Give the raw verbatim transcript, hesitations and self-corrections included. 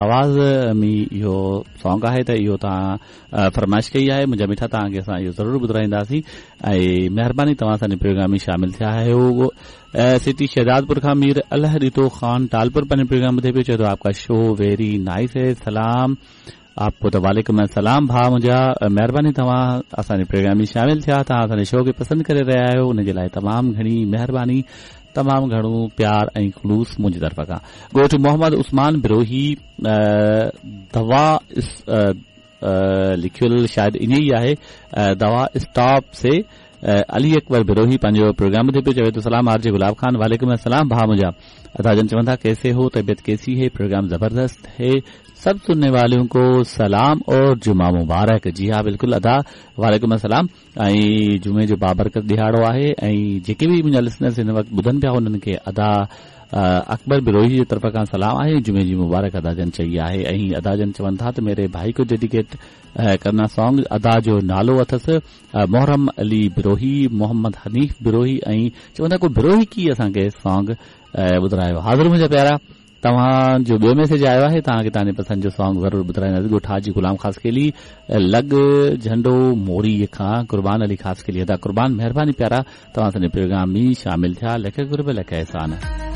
آواز ۾ اهو سانگ آهي ته اهو توهان فرمائش ڪئي آهي منهنجا مٺا، توهان کي اسان اهو ضرور ٻڌرائينداسين ۽ مهرباني توهان اسان جي پروگرام ۾ شامل ٿيا آهيو. سٽي شهدادپور کان مير الله ڏتو خان ٽالپور پنهنجو پروگرام ٻڌي پيو، چئي ٿو آپ کا شو ويري نائس هي، سلام آپ کو. ته وعليڪم السلام ڀاء منهنجا، مهرباني توهان اسان جي پروگرام ۾ شامل ٿيا. توهان اسان جي شو کي پسند ڪري رهيا آهيو، ان جي لاءِ تمام گهڻي مهرباني، تمام گهڻو پيار ۽ خلوص منهنجي طرف کان. ڳوٺ محمد عثمان بروهي دوا لکيل شايد ائين ئي آهي، دوا اسٽاپ سي علي اڪبر بروهي پنهنجو پروگرام ٻڌي پيو، چوي ٿو سلام آر جي گلاب خان. وعليڪم السلام ڀاء منهنجا. ادا جن چون ٿا ڪيسي هو، طبيعت ڪيسي هي؟ پروگرام زبردست هي، سب سننے والوں کو سلام اور جمعہ مبارڪ. جي ها بلڪل ادا، وعليڪم السلام ۽ جمعي جو بابرڪت ڏهاڙو آهي ۽ جيڪي به منهنجا لسنرس هن وقت ٻڌن پيا انهن کي ادا اڪبر بروهي جي طرف کان سلام آهي. جمعي جي مبارڪ ادا جن چئي آهي ۽ ادا جن چون ٿا ته ميري ڀائي کو ڊيڊيڪيٽ ڪرنا سانگ. ادا جو نالو اٿس محرم علي بروهي، محمد حنيف بروهي ۽ چون ٿا ڪو بروهي ڪي اسان کي سانگ ٻڌرايو. حاضر منهنجا پيارا، توهان جو ٻيو ميسيج آيو آهي، توهان کي توهان جي پسند جو سانگ ضرور ٻڌرائينداسين. ڳوٺ حاجي غلام خاصخيلي لڳ جهنڊو موري کان قربان علي خاصخيلي. ادا قربان، مهرباني پيارا، توهان اسان جي پروگرام ۾ شامل ٿيا. لک قرب لک احسان.